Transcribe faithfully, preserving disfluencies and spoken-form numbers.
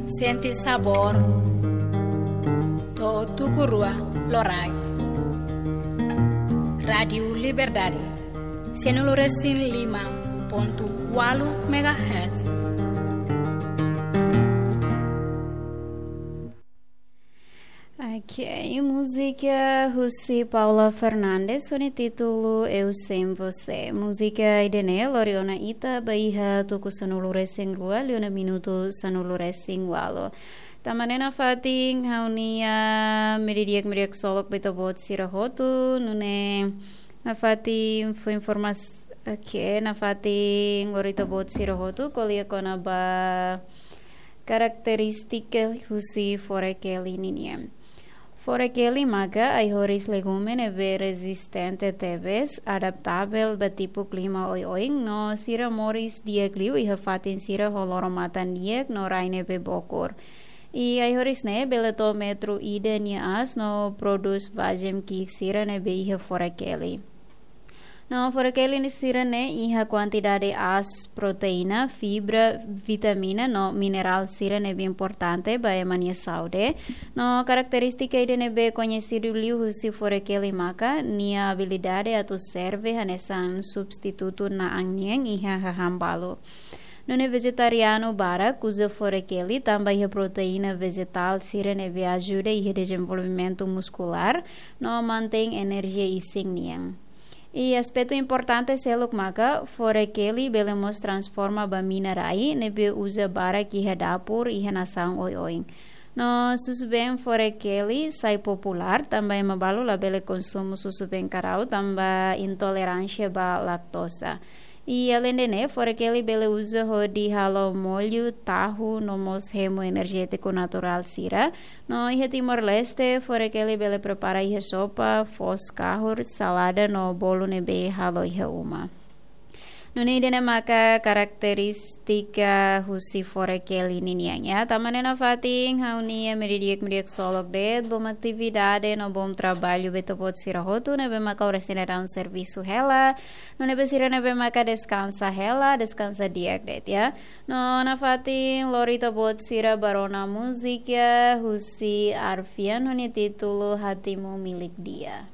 Sente sabór. To'o tuku rua loraik. Rádiu Liberdade, sianulu resin lima pontu ualu megahertz. Ok, múzika husi Paula Fernandes, ho nia títulu Eu Sem Você. Múzika ida-ne'e lori ona ita ba iha tuku sanulu resin rua, liu ona minutu sanulu resin ualu. Tanba ne'e nafatin ha'u-nia meiudia di'ak, meiudia di'ak ksolok ba ita-boot sira hotu, nune'e nafatin fó informas-, ok, nafatin lori ita-boot sira hotu ko'alia kona-ba karakterístika husi Foré Kelly ninian. Foré Kelly maka ai-horis legume ne'ebé rezistente tebes, adaptavel ba tipu klima oioin, no sira moris di'ak liu iha fatin sira ho loro-matan di'ak no rai ne'ebé bokur. I ai-horis ne'e bele to'o metru ida nia aas no prodús bajem ki'ik sira ne'ebé iha Foré Kelly. No Foré Kelly sira-ne'e iha kuantidade aas, proteína, fibra, vitamina no minerál sira ne'ebé importante ba ema nia saúde. No karakterístika ida ne'ebé koñesidu liu husi Foré Kelly maka nia abilidade atu serve hanesan substitutu na'an nian iha hahán balu. Nune'e vejetarianu barak uza Foré Kelly tanba iha proteína vejetál sira ne'ebé ajuda iha dezenvolvimentu muskulár no mantein enerjia isin nian. I aspetu importante seluk maka Foré Kelly bele mós transforma ba mina rai ne'ebé uza barak iha dapur iha nasaun oioin. No susubeen Foré Kelly sai populár tanba ema balu labele konsumu susubeen karau tanba intoleránsia ba laktoza. I aleinde ne'e, Foré Kelly bele uza hodi halo mollu, tahu no mós hemu enerjétiku naturál sira. No iha Timor-Leste, Foré Kelly bele prepara iha sopa, foos kahur, salada no bolu ne'ebé halo iha uma. Nune'e ida-ne'e maka karakterístika husi Foré Kelly ninian, ya. Tanba ne'e nafatin ha'u-nia meiudia di'ak, meiudia di'ak ksolok de'it, bom atividade no bom traballu ba ita-boot sira hotu ne'ebé maka oras ne'e daudaun servisu hela, no ne'ebé sira ne'ebé maka deskansa hela, deskansa di'ak de'it, ya. No nafatin lori ita-boot sira ba rona múzika husi Arfian ho nia títulu Hatimu Milik Dia.